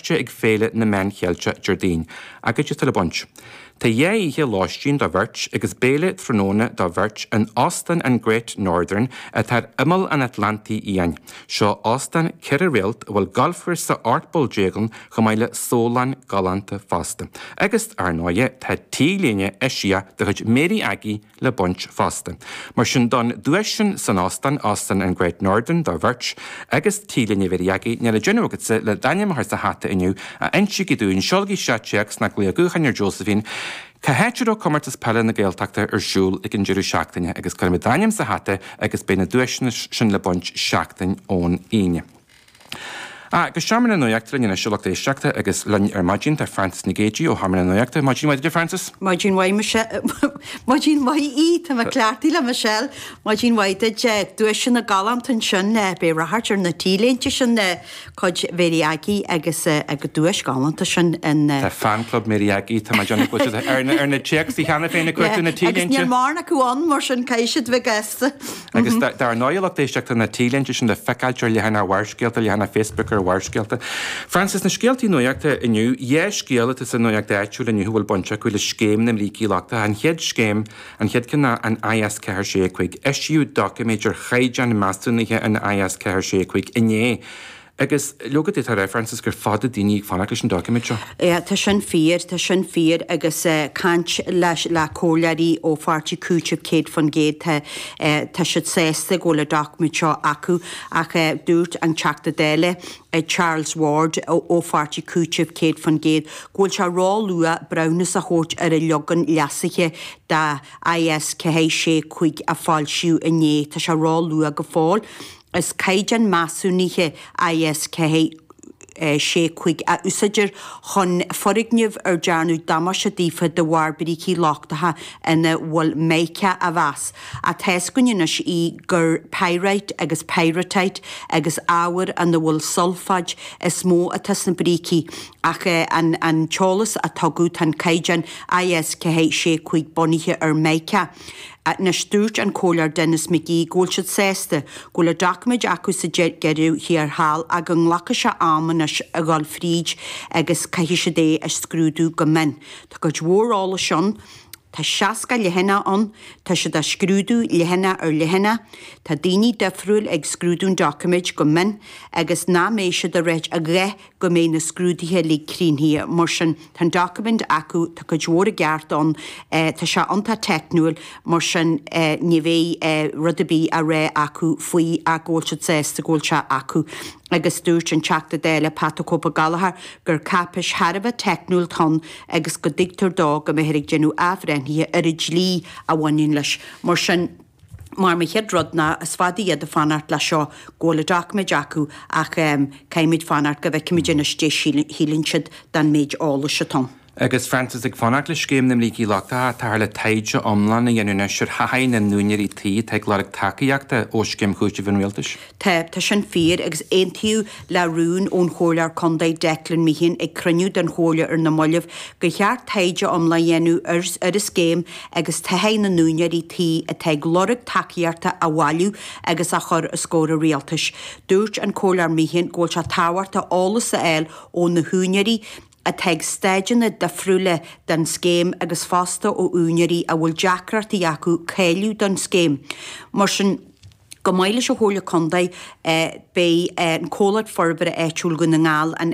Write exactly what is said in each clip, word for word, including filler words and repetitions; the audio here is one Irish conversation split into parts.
Feirste ag Féile na Meán Cheilteach Déardaoin, agus tá le baint. Tá dhá oíche lóistín do bheirt agus béile tráthnóna do bheirt in Óstán an Great Northern atá ar imeall an Atlantaigh Fhiáin. Seo óstán ceithre réalt a bhfuil galfchúrsa ocht bpoll déag ann chomh maith le sólann galánta fosta. Agus ar ndóigh tá T-léine eisiach de chuid Mary Aggie le baint fosta. Mar sin don duais sin san óstán Óstán an Great Northern do bheirt agus T-léine Mary Aggie níl le déanamh agatsa le d'ainm a chur sa hata inniu a insígí dúinn seolaigí isteach téacs nó glaoch gutháin ar Josephine Cá háit a raibh comórtas peile na Gaeltachta ar siúl ag an deireadh seachtaine agus cuirfimid d'ainm sa hata agus beidh na duaiseanna sin le baint seachtain ón Aoine. Ah, go Seomra na Nuachta linn anois a lucht éisteachta agus linn ar maidin tá Frances Nic Géadaigh ó Sheomra na Nuachta. Maidin mhaith Frances? Maidin mhaith Maidin mhaith í tá mé cleachtaithe le Michelle Maidin mhaith duit duaiseanna galánta ansin beidh ráchairt ar na T-léinte sin cuid Mary Aggie agus agus duais galánta sin in Tá fan club Mary Aggie tá mar Johnny ar na ar na téacs cheana féin chuir na Agus T-léinte. níl mórán acu ann mar sin caithfidh siad bheith gasta. Agus dar ndóigh lucht éisteachta na T-léinte sin le feiceáil ar leathanach Bharrscéalta leathanach Facebook ar Bharrscéalta. Frances na scéaltaí nuachta inniu dhá scéal atá sa nuacht áitiúil inniu bhfuil baint acu le scéim na mbrící lochtacha an chéad scéim an chéad ceann ná an IS ceathair sé cúig eisíodh doiciméad ar chaighdeán measúnaithe an IS ceathair sé cúig inné. Agus leoga tá rá Frances gur fada daoine ag fanacht leis an doiciméad seo. É, tá sin fíor tá sin fíor agus uh, caint leis le comhairleoirí ó pháirtí Cúiteamh céad faoin gcéad tá uh, tá siad sásta go bhfuil an doiciméad seo acu ach uh, dúirt an Teachta Dála uh, Charles Ward ó, ó pháirtí Cúiteamh céad faoin gcéad go bhfuil sé ró-luath breithiúnas a thabhairt ar an leagan leasaithe de IS ceathair sé cúig a foilsíodh inné tá sé ró-luath go fóill. Is caighdeán measúnaithe IS ceathair sé cúig a úsáidtear chun foirgnimh ar dearnadh damáiste daofa de bharr brící lochtacha ina bhfuil mica a mheas. A teascuine í gur pyrite agus pyrrhotite agus ábhar ina bhfuil sulfáid is mó atá sna brící ach an, an t-eolas a tugadh tá an caighdeán IS ceathair sé cúig bunaithe ar mica. Anois dúirt an comhairleoir Denis McGee go bhfuil siad sásta go bhfuil an doiciméad acu sa deireadh thiar thall ach go nglacfaidh sé am anois a dhul fríd agus caithfidh siad é a scrúdú go mion. Tá cuid mhór eolais ann, Tá seasca leathanach ann, tá siad á scrúdú leathanach ar leathanach, Tá daoine difriúil ag scrúdú an doiciméid go mion agus ná mbeidh siad a réit a gheit go mbeidh na scrúduithe le críochnaithe mar sin tá an doiciméad acu tá cuid mhór i gceart ann eh, tá sé iontach teicniúil mar sin eh, ní bheidh eh, rud ar bith a rá acu faoi ach go bhfuil siad sásta go bhfuil sé acu. agus dúirt an Teachta Dála Pat the Cope Gallagher gur cáipéis thar a bheith teicniúil atá ann agus go dtuigtear dó go mbeifear ag déanamh athbhreithnithe ar an dlí a bhaineann leis mar sin mar mo chéad rud ná is fada iad ag fanacht le seo go bhfuil an doiciméad acu ach um, caithfimid fanacht go bhfeicfimid anois cad é shíleann siad den méid eolais atá. Agus Frances ag fanacht le scéim na mbrící lochtacha tá le taighde iomlán a dhéanamh anois ar thaithí na n-úinéirí tí atá ag lorg tacaíochta ó scéim chúitimh an rialtais. Tá tá sin fíor agus aontaíodh le rún ón chomhairleoir contae Declan Meehan ag cruinniú den chomhairle ar na mallaibh gur cheart taighde iomlán a dhéanamh ar ar an scéim agus taithí na n-úinéirí tí atá ag lorg tacaíochta a bhailiú agus a chur os comhair an rialtais. Dúirt an comhairleoir Meehan go bhfuil sé tábhachtach eolas a fháil ó na húinéirí atá ag staideanna difriúla den scéim agus fosta ó úinéirí a bhfuil deacrachtaí acu cáiliú don scéim. Mar sin go maith leis an Chomhairle Contae eh, beidh eh, an Comhlacht Forbartha Áitiúil Dhún na nGall an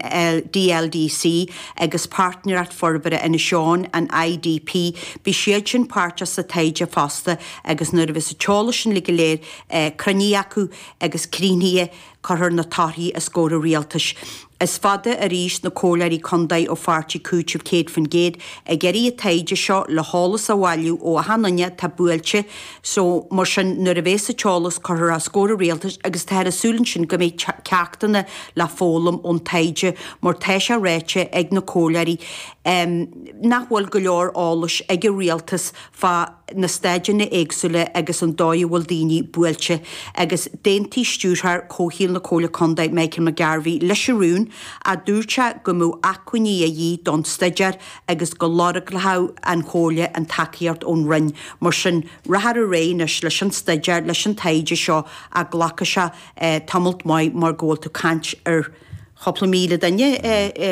DLDC agus Páirtnéireacht Forbartha Inis Eoghain an IDP, Beidh siad sin páirteach sa taighde fosta agus nuair a bheas an t-eolas sin le go léir eh, cruinnithe acu agus críochnaithe cuirfear na torthaí os comhair an rialtais. Is fada arís na comhairleoirí contae ó pháirtí Cúiteamh céad faoin gcéad ag iarraidh an taighde seo le heolas a bhailiú ó achan duine atá buailte, so mar sin nuair a bheas an t-eolas cuirfear os comhair an rialtais agus tá ar súil sin go mbeidh ceachtanna le foghlaim ón taighde mar tá sé ráite ag na comhairleoirí um, nach bhfuil go leor eolais ag an rialtas fá na staideanna éagsúla agus an dóigh a bhfuil daoine buailte agus d'aontaigh stiúrthóir comhshaoil na Comhairle Contae Michael McGarvey leis an rún a dúirt sé go mbeadh acmhainní a dhíth don staidéar agus go lorgódh an Chomhairle an tacaíocht ón Roinn mar sin rachfar ar aghaidh anois leis an staidéar leis an taighde seo a ghlacfaidh sé eh, tamalt maith mar go bhfuil tú ag caint ar chúpla míle duine eh, eh,